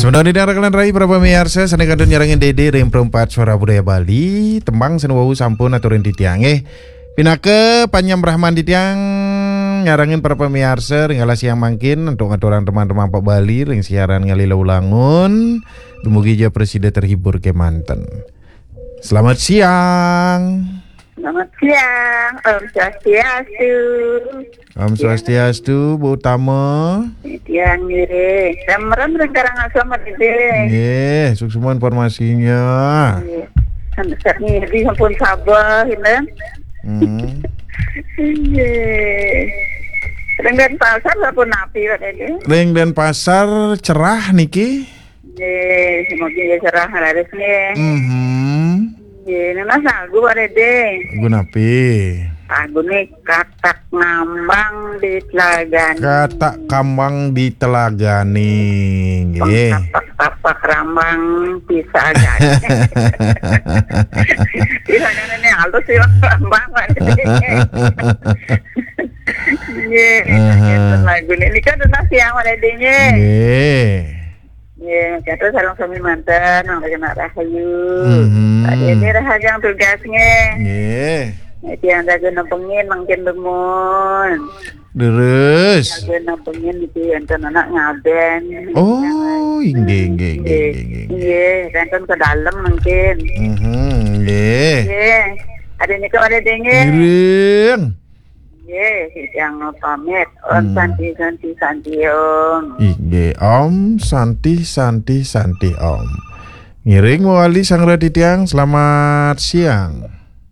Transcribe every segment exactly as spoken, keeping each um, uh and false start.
Sementara di daerah kalian rai, para pamiarsa, sané kantun nyarengin Dédé ring Perempat Suara Budaya Bali, tembang sing wau sampun aturin titiang, eh. Pinaka panyembrahman titiang nyarengin para pamiarsa ring alas siang mangkin, antuk ngaturang teman-teman Pak Bali ring siaran ngalih lelangun, dumugi ja prasida terhibur kémanten. Selamat siang. Selamat siang, Om Swastiastu. Om Swastiastu, Bu Utama. Tiang ngiring. Remen ring Karangasem, Pak Dédé. Nggih, suksma informasinya. Nggih. Sampai saat ini sampun sabeh, gitu. Hmm. Nggih. Ring Denpasar sampun napi, Pak Dédé? Ring Denpasar cerah niki. Nggih, semoga ya cerah leres nggih. Mhm. Nggih, nunas lagu, Pak Dédé. Lagu napi? Lagu nih, Katak Ngambang di Telagane. Katak Kambang di Telagane, nggih. Tapak-tapak rambang bisa jadi. Bisa jadi nih, halus sih, rambang, Pak Dédé. Nggih, aha, lagu nih. Ini kan nunas siang, Pak Dédé, nggih. Nggih. Nggih, kata sareng sami manten, Mang Rena Rahayu. Mhm. Pak Dédé rahajeng tugas nggih. Nggih. Nggih, tiang jaga nepengin mangkin demun. Terus. Jaga nepengin iki enten anak ngaben. Oh, inggih, inggih, inggih, inggih, inggih. Nggih, enten ke dalem mangkin. Mhm, nggih. Nggih. Ada nika ada dengeng. Ngiring. Nggih, titiang pamit. Om, hmm, Santi, Santi, Santi, Om. Inggih, Om, Santi, Santi, Santi, Om. Ngiring mawali sang reti tiang, selamat siang.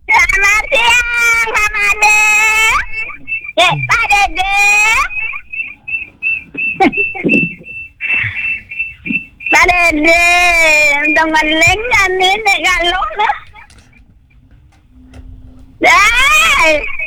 Selamat siang, Pak Made. Eh, Pak Dede. Pak Dede, udah ngeling kami nek galuh dah. Dai.